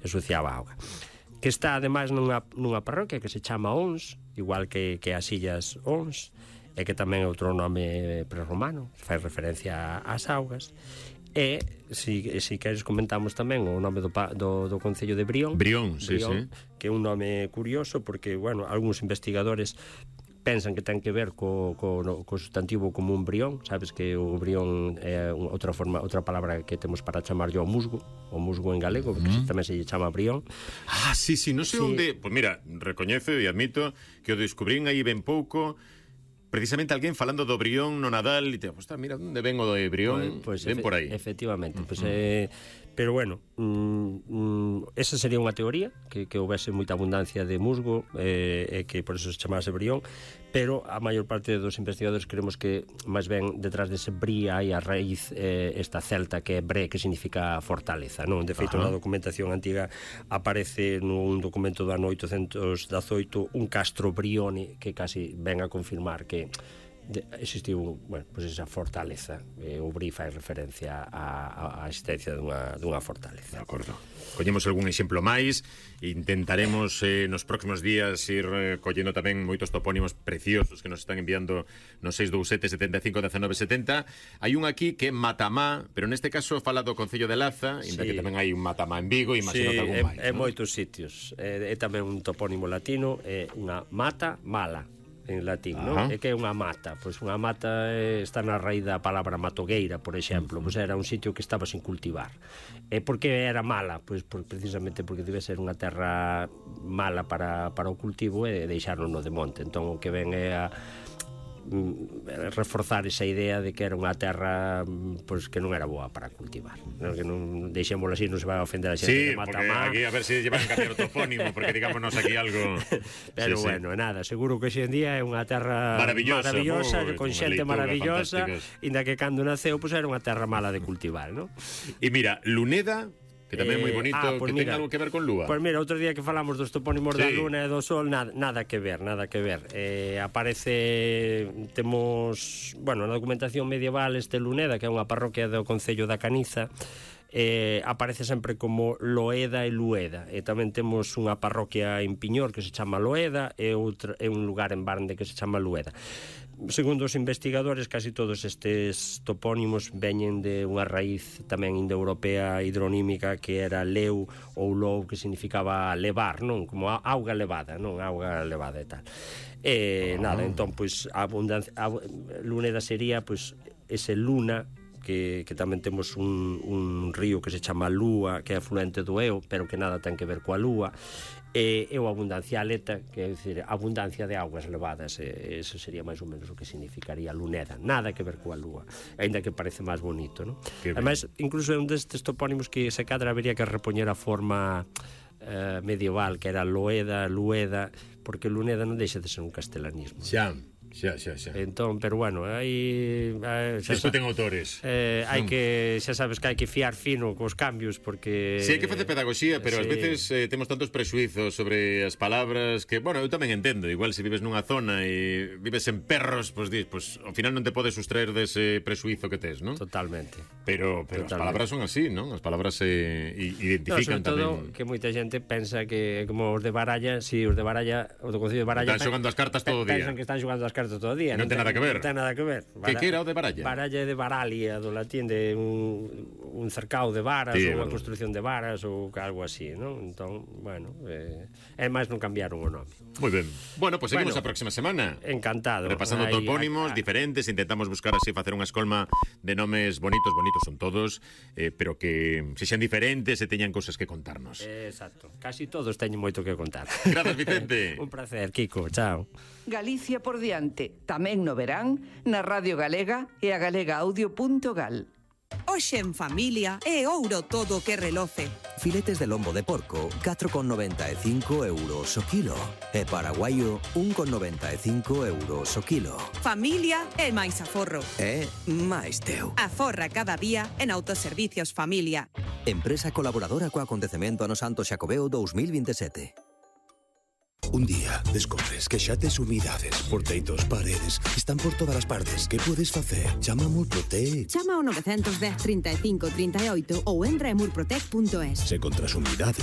ensuciaba a auga. Que está ademais nunha parroquia que se chama Ons, igual que as illas Ons, e que tamén é outro nome prerromano, fai referencia ás augas. E, se queres, comentamos tamén o nome do concello de Brión. Brión, sí. Que é un nome curioso, porque, bueno, algúns investigadores pensan que ten que ver co sustantivo común brión. Sabes que o brión é outra palabra que temos para chamarlo o musgo en galego, porque tamén se lle chama brión. Sí, non sei onde. Pois mira, recoñezo e admito que o descubrín aí ben pouco. Precisamente alguén falando do Brión no Nadal e te aposta, mira, onde ven o do Brión, ven por aí. Efectivamente, pero bueno, esa sería unha teoría, que houvese moita abundancia de musgo e que por eso se chamase Brión, pero a maior parte dos investigadores creemos que máis ben detrás dese brí hai a raíz esta celta que é bre, que significa fortaleza, non? De feito, na documentación antiga aparece nun documento do ano 818 un castro Brione que casi ven a confirmar que existiu, bueno, pues esa fortaleza. O brí fai referencia á existencia dunha fortaleza. De acordo. Collemos algún exemplo máis e intentaremos nos próximos días ir collendo tamén moitos topónimos preciosos que nos están enviando no 627 75 19 70. Hai un aquí que é Matamá, pero neste caso fala do concello de Laza, inda que tamén hai un Matamá en Vigo, imagino que algún máis. É moitos sitios. É tamén un topónimo latino, é unha mata mala en latín, non? É que é unha mata. Pois unha mata está na raíz da palabra matogueira, por exemplo. Pois era un sitio que estaba sin cultivar. E por que era mala? Pois precisamente porque debe ser unha terra mala para o cultivo e deixarlo no de monte. Entón o que ven é a reforzar esa idea de que era unha terra pois que non era boa para cultivar, non? Que non deixémoslo así, non se vai a ofender a xente de Matamá. Aquí a ver se llevan a cambiar o topónimo, porque digámonos aquí algo. Pero bueno, nada, seguro que hoxe en día é unha terra maravillosa con xente maravillosa, inda que cando naceu pois era unha terra mala de cultivar, non? E mira, Luneda, que tamén é moi bonito, que ten algo que ver con lúa. Pois mira, outro día que falamos dos topónimos da luna e do sol, nada que ver. Aparece, temos, bueno, na documentación medieval este Luneda, que é unha parroquia do concello da Caniza, aparece sempre como Loeda e Lueda, e tamén temos unha parroquia en Piñor que se chama Loeda e un lugar en Barnde que se chama Lueda. Segundo os investigadores, casi todos estes topónimos veñen de unha raíz tamén indoeuropea hidronímica que era leu ou lou, que significaba levar, non? Como auga levada, non? Auga levada e tal. Nada, entón, pois, a Luneda sería, pois, ese luna, que tamén temos un río que se chama Lúa, que é afluente do Eo, pero que nada ten que ver coa Lúa. E o abundancia aleta, que é dicir, abundancia de augas levadas, eso sería máis ou menos o que significaría Luneda. Nada que ver coa Lúa, ainda que parece máis bonito, non? Ademais, incluso é un destes topónimos que se cadra habería que repoñer a forma medieval, que era Loeda, Lueda, porque Luneda non deixa de ser un castelanismo. Xa. Entón, pero bueno, hai isto ten autores. Hai que, xa sabes que hai que fiar fino cos cambios, porque hai que facer pedagogía, pero ás veces temos tantos presuizos sobre as palabras que, bueno, eu tamén entendo, igual se vives nunha zona e vives en Perros, pois ao final non te podes sustraer dese presuizo que tes, non? Totalmente. Pero as palabras son así, non? As palabras identifican tamén. Sobre todo que moita xente pensa que como os de Baralla, o do Concello de Baralla están xogando as cartas todo o día. Pensan que están xogando as cartas todo o día. Non ten nada que ver. Non ten nada que ver. Que era o de Baralla? Baralla é de Baralia, do latín, de un cercado de varas, ou unha construcción de varas, ou algo así, non? Entón, bueno, é máis non cambiaron o nome. Moi ben. Bueno, pois seguimos a próxima semana. Encantado. Repasando topónimos diferentes, intentamos buscar así facer unha escolma de nomes bonitos son todos, pero que sexan diferentes e teñan cousas que contarnos. Exacto. Casi todos teñen moito que contar. Grazas, Vicente. Un placer, Kiko. Chao. Galicia por diante, tamén no verán, na Radio Galega e a galegaaudio.gal. Hoxe en familia é ouro todo que reloce. Filetes de lombo de porco, 4,95 euros o kilo. E paraguaio, 1,95 euros o kilo. Familia é máis aforro. É máis teu. Aforra cada día en Autoservicios Familia. Empresa colaboradora co acontecemento Ano Santo Xacobeo 2027. Un día descobres que xa tes humidades por teitos, paredes, están por todas as partes. Que podes facer? Chama a Murprotec. Chama ao 910 35 38 ou entra en murprotec.es. Se contras humidades